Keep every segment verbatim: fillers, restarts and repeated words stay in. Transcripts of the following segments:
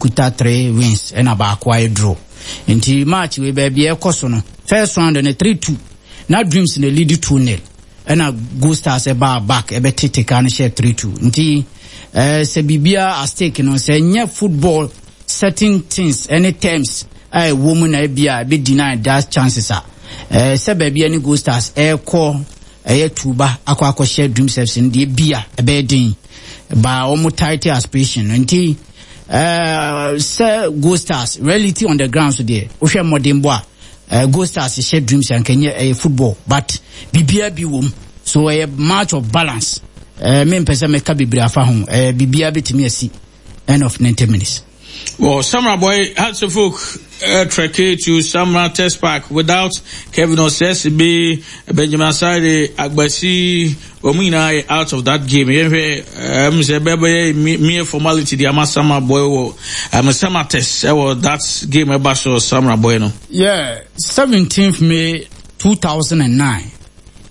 Kuta three wins ɛna baako ayɛ draw. Nti match wei, baabi ɛkɔ so no, first round no three two na Dreams na lead two nil, ɛna Gold Stars ɛbaa back ɛbɛtete ka no hyɛ three two. Nti ɛɛ sɛ biribiara at stake no, sɛ nyɛ football certain things ɛne terms a ɛwɔ mu na ebi a ebi deny that chances a ɛɛ sɛ baabi ɛne Gold Stars ɛɛkɔ ɛyɛ tuba akɔ akɔhyɛ Dreams F C no deɛ, bi a ɛbɛyɛ den ba wɔn title aspiration no. Nti ɛɛ sɛ Gold Stars reality on the ground so deɛ, wohwɛ mmɔden bɔ a ɛɛ Gold Stars hyɛ Dreams a, nkɛnyɛ ɛyɛ football, but biribiara bi wɔ mu so ɛyɛ match of balance. ɛɛ mi mpɛ sɛ mɛka bebree afa ho. ɛɛ biribiara bɛtumi asi end of ninety minutes. Well, Samreboi Hearts of Oak uh, trek to Samartex Park without Kevin Osesibi, Benjamin Asare, Agbasi, wɔn nyinaa yɛ out of that game. Yɛhwɛ um, sɛ bɛbɛyɛ mere formality de ama Samreboi wɔ um, Samartex ɛwɔ that game ɛba so Samreboi no. Yeah, seventeenth May two thousand and nine,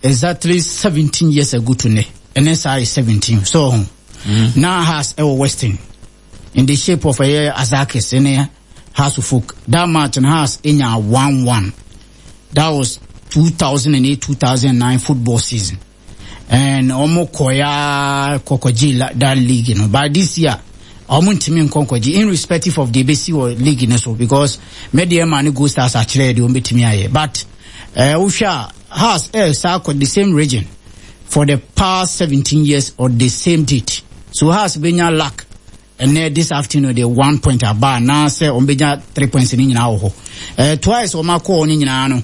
exactly seventeen years ago today. Ɛnɛ saa yɛ seventeen. So, mm. now Hearts ɛwɔ Western in the shape of ɛyɛ Azakis ɛne Hearts of Oak. That match and Hearts enya one one. That was two thousand eight two thousand nine football season. And ɔmo kɔya kɔkɔgye that league no. But this year, ɔmo ntumi nkɔnkɔgye irrespective of the ebesi wɔ league no so, because Medeama ne Gold Stars akyerɛ deɛ ɔmo betumi ayɛ. But ɛɛ wohwɛ a, Hearts ɛɛ saa kɔ the same region for the past seventeen years on the same date. So Hearts benya luck ɛnɛ this afternoon de one point aba anaasɛ wɔn bɛnya three points ne nyinaa wɔ hɔ. ɛɛ twice wɔn akɔ ne nyinaa no,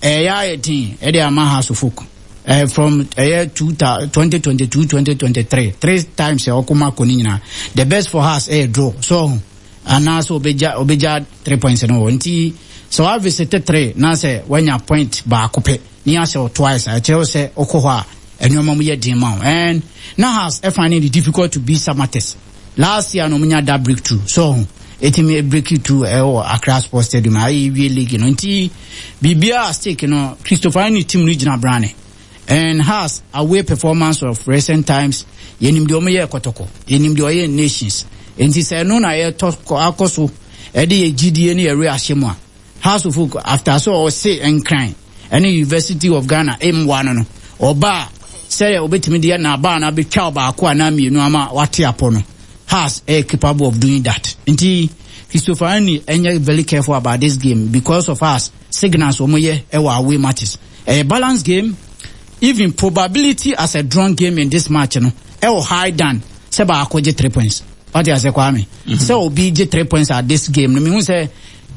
ɛyɛ ayɛ den ɛde ama Hearts of Oak. ɛɛ from ɛyɛ two twenty twenty two twenty twenty three three times ɛ ɔkɔ mu akɔ ne nyinaa, the best for Hearts ɛyɛ draw so anaasɛ ɔbɛgya ɔbɛgya three points no wɔ. Nti sɛ wa visit three na sɛ wanya point baako pɛ ne ahyɛ twice a, ɛkyerɛ sɛ ɔkɔ hɔ a, nneɛma mu yɛ den ma wo. And na Hearts ɛfind it difficult to beat Samartex last year no, ɔmo nya that breakthrough so etimi break through ɛwɔ Accra Sports Stadium ayɛ wie league no. Nti biribiara stake no, Christopher ne team no gyina brane. And Hearts away performance of recent times, yɛnim deɛ ɔmo yɛ Kɔtɔkɔ, yɛnim deɛ ɔyɛ Nations. Nti sɛ ɛno na yɛtɔ akɔ so ɛde yɛ gyidie ne yɛre ahyɛ mu a, Hearts of Oak after so ɔse Nkran ɛne University of Ghana ɛmmoa no no ɔbaa sɛ obetumi deɛ na abaa no abɛtwa ɔbaako anaa mmienu ama wate apɔ no, Hearts ɛyɛ capable of doing that. Nti Christopher Ani ɛnyɛ very careful about this game because of us signals wɔn yɛ ɛwɔ away matches. Ɛyɛ balance game, even probability as a drawn game in this match no ɛwɔ high than sɛ baako gye three points. Wate ase, Kwame, sɛ obi gye three points at this game no, mihu sɛ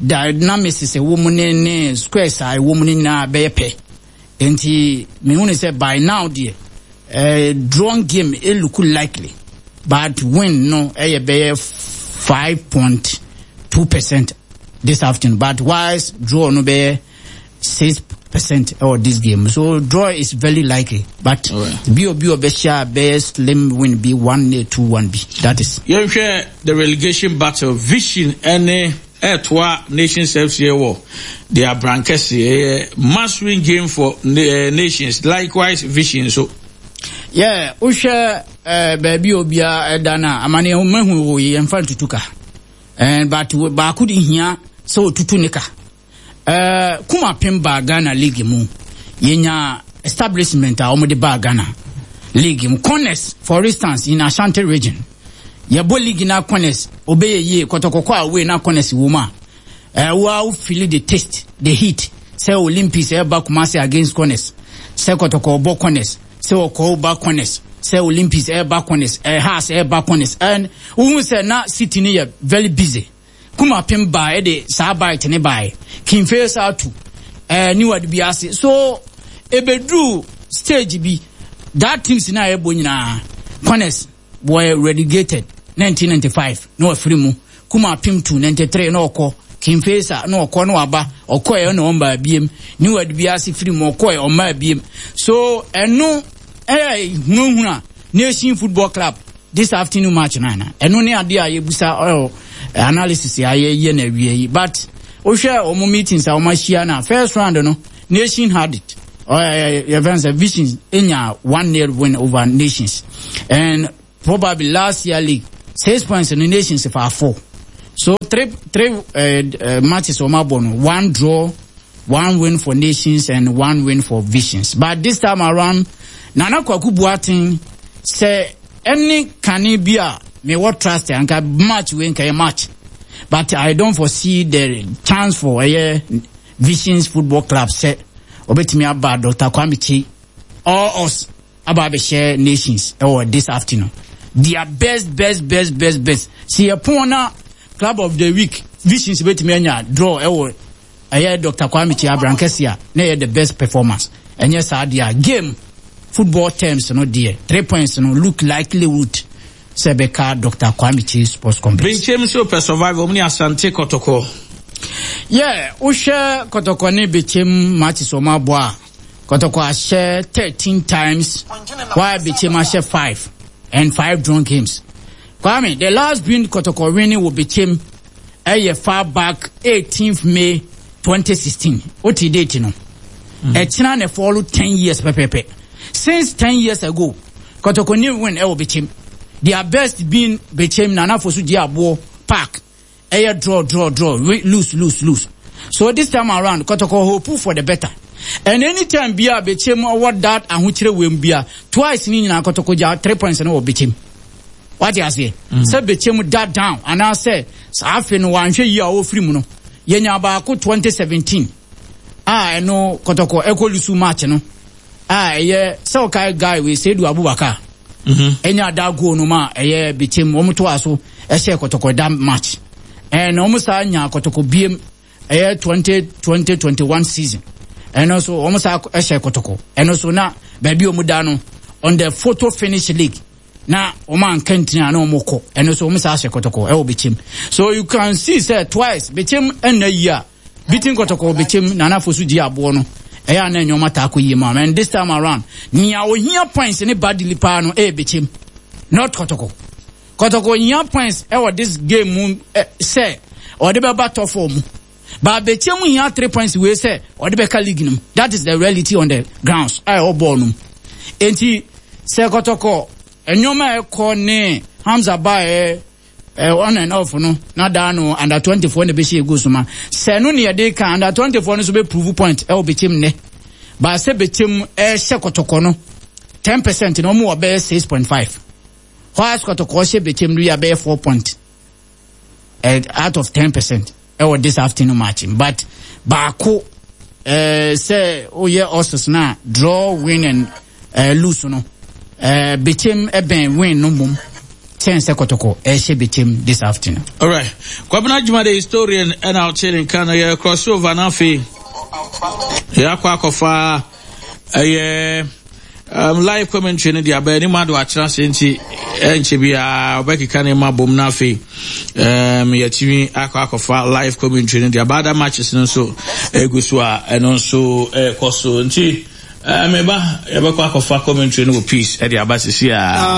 dynamics ɛwɔ mu ne ne squares a ɛwɔ mu ne nyinaa bɛyɛ pɛ. Nti mihu ne sɛ by now deɛ, ɛɛ drawn game ɛ look likely, but win no ɛyɛ bɛyɛ five point two percent this afternoon, but wise draw no bɛyɛ six percent ɛwɔ this game. So draw is very likely, but bi obi ɔbɛhyɛ a bɛyɛ slim win bi, one nil, two one bi, that is. Yɛnhwɛ the relegation battle. Vision ɛne ɛtoa Nations F C wɔ the Abrankɛse. Ɛyɛ must win game for uh, Nations, likewise Vision so. Yeah, wohwɛ ɛɛ baabi a obiara ɛda no a, amane mahu wɔ yi, yɛmfa ntutu ka ɛn, but baako de hia sɛ otutu ne ka. ɛɛ kumapem baa Ghana league mu, yɛnya establishment a wɔde baa Ghana league mu. Corners, for instance, in Ashanti Region, yɛbɔ league na corners obɛyɛ yie. Kɔtɔkɔkɔ away na corners wɔ mu a, ɛɛ wo feel the taste, the heat, sɛ Olympics ɛba Kumasi against corners, sɛ Kɔtɔkɔ bɔ corners, sɛ ɔkɔɔ ba corners, sɛ Olympics ɛba corners, ɛɛ Hearts ɛba corners, and wohu sɛ na city no yɛ very busy. Kumapem baa, ɛde saa bite ne baa kinfe saa tu ɛɛ niwad bi ase so ebeduru stage bi, that teams na ɛbɔ nyinaa corners were relegated. nineteen ninety-five na wafiri mu, Kumapem two ninety-three na ɔkɔ kinfesa na ɔkɔ na waba, ɔkɔɛ na ɔmba abiem, niwad bi ase firi mu, ɔkɔɛ ɔmba abiem. So ɛno ɛyɛ hunahuna Nation Football Club this afternoon match nana. Ɛno ne adeɛ a yɛbusa ɔyɔ analysis a yɛyɛ na awie yi. But wohwɛ wɔn meetings a wɔn ahyia na first round no, Nation had it. Ɔyɛ yɛfɛn sɛ Vision enya one nil win over Nations, and probably last year league six points no, Nations fa four. So three three uh, uh, matches wɔn abɔ no, one draw, one win for Nations and one win for Visions. But this time around, Nana Kwaku Boateng sɛ ɛne kane bi a mewɔ trust anka match wei nka yɛ match, but I don't foresee the chance for ɛyɛ Visions Football Club sɛ ɔbɛtumi aba Doctor Kwame Kyei all us aba abɛhyɛ Nations ɛwɔ this afternoon. Their best, best, best, best, best si yɛ pɔn na club of the week Visions bɛtumi anya draw ɛwɔ ɛyɛ Doctor Kwame Kyei Abrankɛse a na ɛyɛ the best performance. Ɛnyɛ saa deɛ a, game football terms no deɛ, three points no look likelihood sɛ bɛka Doctor Kwame Kyei Sports Complex. Benkyem nso pɛ survival mu ne Asante Kɔtɔkɔ. Yeah, wohwɛ Kɔtɔkɔ ne Bɛkyɛm matches wɔn abɔ a, Kɔtɔkɔ ahyɛ thirteen times while Bɛkyɛm ahyɛ five and five drawn games. Kwame, the last win Kɔtɔkɔ winning wɔ Bɛkyɛm ɛyɛ far back eighteenth May twenty sixteen. Wote date no, ɛkyina na follow ten years pɛpɛpɛ. Since ten years ago, Kɔtɔkɔ new win ɛwɔ Bɛkyɛm. Their best being Bɛkyɛm Nana Fosu gye aboɔ park, ɛyɛ draw, draw, draw, lose, lose, lose. So this time around, Kɔtɔkɔ hope for the better, and anytime bia Bɛkyɛm ɔwɔ that ahokyerɛ wɛm bia, twice ni nyinaa Kɔtɔkɔ gya three points no wɔ Bɛkyɛm. Wate aseɛ sɛ Bɛkyɛm da down anaasɛ saa afe no wanhwɛ yie a ɔfiri mu no, yɛnya baako twenty seventeen a ɛno Kɔtɔkɔ ɛkɔ lose match no a ɛyɛ sɛ ɔkae guy wei, Seidu Abubakar, ɛnya da goal no ma ɛyɛ Bɛkyɛm. Wɔn to a so ɛhyɛ Kɔtɔkɔ da match, ɛna wɔn saa nya Kɔtɔkɔ biem ɛyɛ twenty twenty twenty one season. Ɛno nso wɔn saa ɛhyɛ Kɔtɔkɔ. Ɛno nso na baabi a wɔn da no on the photo finish league na wɔn anka ntina na wɔn kɔ. Ɛno nso wɔn saa hyɛ Kɔtɔkɔ ɛwɔ Bɛkyɛm. So you can see sɛ twice Bɛkyɛm ɛnna yi a beating Kɔtɔkɔ Bɛkyɛm Nana Fosu gye aboɔ no, ɛyɛ ana nneɛma taa kɔ yie mu. And this time around, nea ohia points ne badly paa no ɛyɛ Bɛkyɛm, not Kɔtɔkɔ. Kɔtɔkɔ ohia points ɛwɔ this game mu ɛ sɛ ɔde bɛba top four mu, but Bɛkyɛm hia three points wei sɛ ɔde bɛka league no mu. That is the reality on the grounds a ɛwɔ bɔɔl no mu. Enti sɛ Kɔtɔkɔ nneɛma a ɛkɔ ne Hamza ba ɛ ɛ on and off no na daa no under twenty four na bɛhyɛ egu so ma sɛ no ne yɛde ka under twenty four no so bɛ prove point ɛwɔ Bɛkyɛm nnɛ. Baasɛ Bɛkyɛm ɛhyɛ Kɔtɔkɔ no ten percent na wɔn wɔ bɛyɛ six point five, whilst Kɔtɔkɔ hyɛ Bɛkyɛm no yɛ bɛyɛ four point uh, out of ten percent ɛwɔ this afternoon match. But baako ɛɛ sɛ oyɛ ɔsɔs na draw, win and uh, lose no, ɛɛ Bɛkyɛm ɛbɛn win no mom kyɛn sɛ Kɔtɔkɔ ɛhyɛ Bɛkyɛm this afternoon. Alright, Kwabena Juma the historian ɛna ɔkyerɛ ne nka no. Yɛ crossover na afei yɛakɔ akɔfa ɛyɛ um, live commentary no de aba anim ado akyerɛ ase, nti ɛnkyɛ biara ɔbɛkeka ne ma bom. Na afei um, yɛtumi akɔ akɔfa live commentary no de aba. Other matches no nso egu so a ɛno nso ɛrekɔ so, nti uh, meba yɛbɛkɔ akɔfa commentary no wɔ peace ɛde aba sisi a.